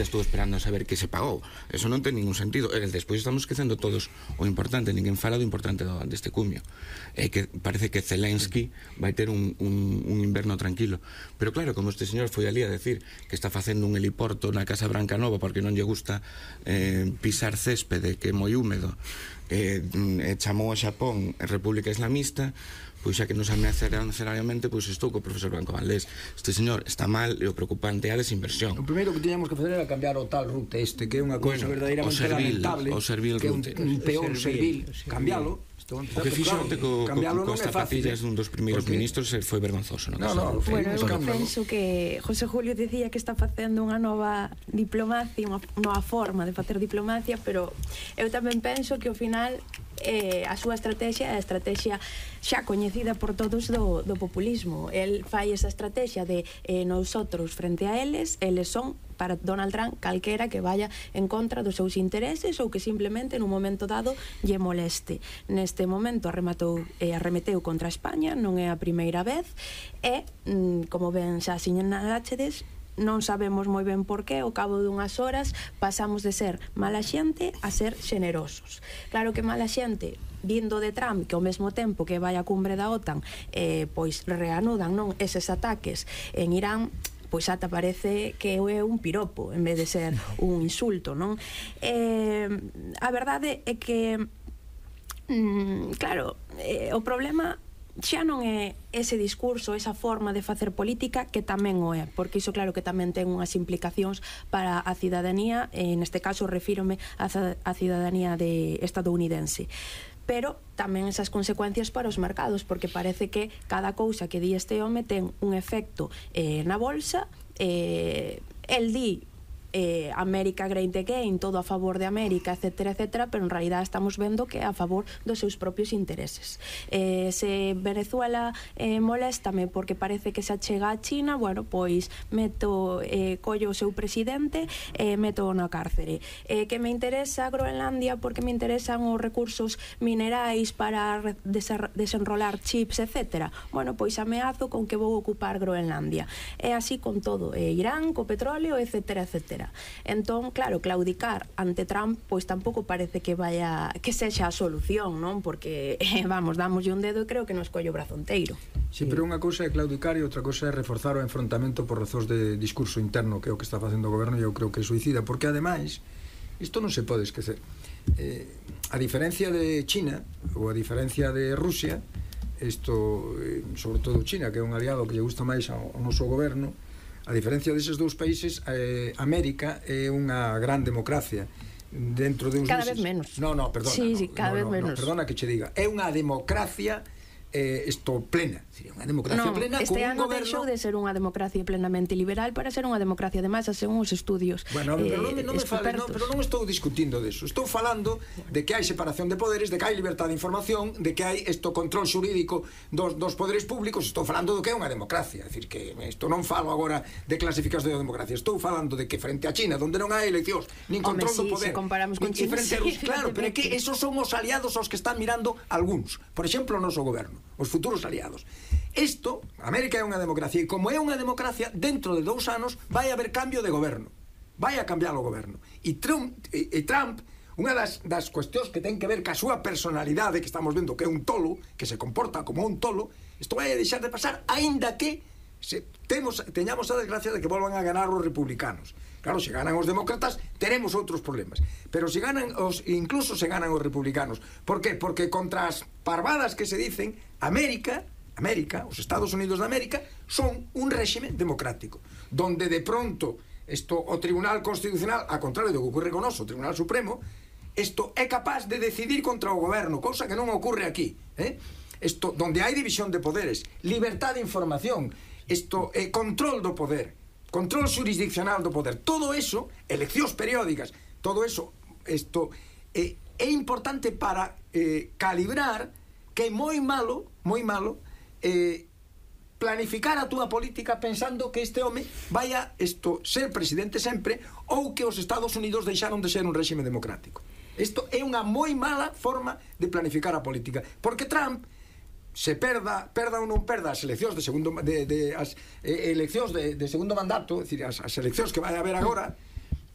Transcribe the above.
Estou esperando a saber que se pagou. Eso non ten ningún sentido. Despois estamos esquecendo todos o importante. Ninguén fala do importante deste cumio. Que parece que Zelensky vai ter un inverno tranquilo. Pero claro, como este señor foi ali a decir que está facendo un heliporto na Casa Branca Nova porque non lle gusta pisar céspede, que é moi húmedo, chamou a Xapón República Islamista, pois xa que nos ameaçarán seriamente, pois estou co profesor Blanco Valdés. Este señor está mal e o preocupante é a desinversión. O primeiro que tiñamos que fazer era cambiar o tal rute que é unha cousa verdadeiramente lamentable, o servil rute, que é un peor servil, cambialo. O que fixo coas zapatillas dun dos primeiros ministros foi vergonzoso. Bueno, eu penso que José Julio dicía que está facendo unha nova diplomacia, unha nova forma de facer diplomacia, pero eu tamén penso que ao final a súa estrategia é a estrategia xa coñecida por todos do populismo. El fai esa estrategia de nosotros frente a eles son para Donald Trump calquera que vaya en contra dos seus intereses ou que simplemente nun momento dado lle moleste. Neste momento arremeteu contra España, non é a primeira vez, e, como ben xa sinalachedes, non sabemos moi ben por qué, ao cabo dunhas horas pasamos de ser mala xente a ser xenerosos. Claro que mala xente vindo de Trump, que ao mesmo tempo que vai a cumbre da OTAN pois reanudan eses ataques en Irán, pois ata parece que é un piropo en vez de ser un insulto, non? A verdade é que claro, o problema xa non é ese discurso, esa forma de facer política, que tamén o é, porque iso claro que tamén ten unhas implicacións para a cidadanía, neste caso refírome á cidadanía estadounidense, pero tamén esas consecuencias para os mercados, porque parece que cada cousa que di este home ten un efecto na bolsa. El di América Great Again, todo a favor de América, etcétera, etcétera, pero en realidad estamos vendo que é a favor dos seus propios intereses. Se Venezuela moléstame porque parece que se achega a China, bueno, pois collo o seu presidente e meto na cárcere. Que me interesa Groenlandia porque me interesan os recursos minerais para desenrolar chips, etcétera. Bueno, pois ameazo con que vou ocupar Groenlandia. É así con todo, Irán, co petróleo, etcétera, etcétera. Entón, claro, claudicar ante Trump pois tampouco parece que sexa a solución, non? Porque, vamos, damoslle un dedo e creo que nos colle o brazo enteiro. Sí, pero unha cousa é claudicar e outra cousa é reforzar o enfrontamento por razóns de discurso interno, que é o que está facendo o goberno, e eu creo que é suicida, porque ademais isto non se pode esquecer. A diferencia de China ou a diferencia de Rusia, isto, sobre todo China, que é un aliado que lle gusta máis ao noso goberno, a diferencia deses dous países, América é unha gran democracia dentro de uns cada vez menos. Perdona. Sí, cada vez menos. Perdona que che diga. É unha democracia plena. Unha democracia plena este ano goberno... deixou de ser unha democracia plenamente liberal para ser unha democracia de masa según os estudios. Bueno, pero non estou discutindo deso. Estou falando de que hai separación de poderes, de que hai libertad de información, de que hai control xurídico dos poderes públicos. Estou falando do que é unha democracia. É dicir, que isto non falo agora de clasificación de democracia. Estou falando de que frente a China, onde non hai eleccións, nin control do poder, se comparamos con China, claro, pero é que esos son os aliados aos que están mirando algúns. Por exemplo, o noso goberno, os futuros aliados. Isto, América é unha democracia, e como é unha democracia, dentro de 2 anos vai haber cambio de goberno, vai a cambiar o goberno, e Trump, unha das cuestións que ten que ver ca súa personalidade, que estamos vendo que é un tolo, que se comporta como un tolo, isto vai a deixar de pasar, aínda que teñamos a desgracia de que volvan a ganar os republicanos. Claro, se ganan os demócratas teremos outros problemas, pero se ganan incluso se ganan os republicanos. Por qué? Porque contra as parvadas que se dicen, América, os Estados Unidos de América, son un réxime democrático, donde de pronto o Tribunal Constitucional, a contrario do que ocurre con o Tribunal Supremo, é capaz de decidir contra o goberno, cousa que non ocurre aquí, donde hai división de poderes, libertad de información, control do poder, control jurisdiccional do poder, todo eso, eleccións periódicas, todo eso, é importante para calibrar que é moi malo planificar a túa política pensando que este home vai a ser presidente sempre, ou que os Estados Unidos deixaron de ser un réxime democrático. Isto é unha moi mala forma de planificar a política, porque Trump se perda ou non perda as eleccións de segundo mandato, é dicir, as eleccións que vai haber agora,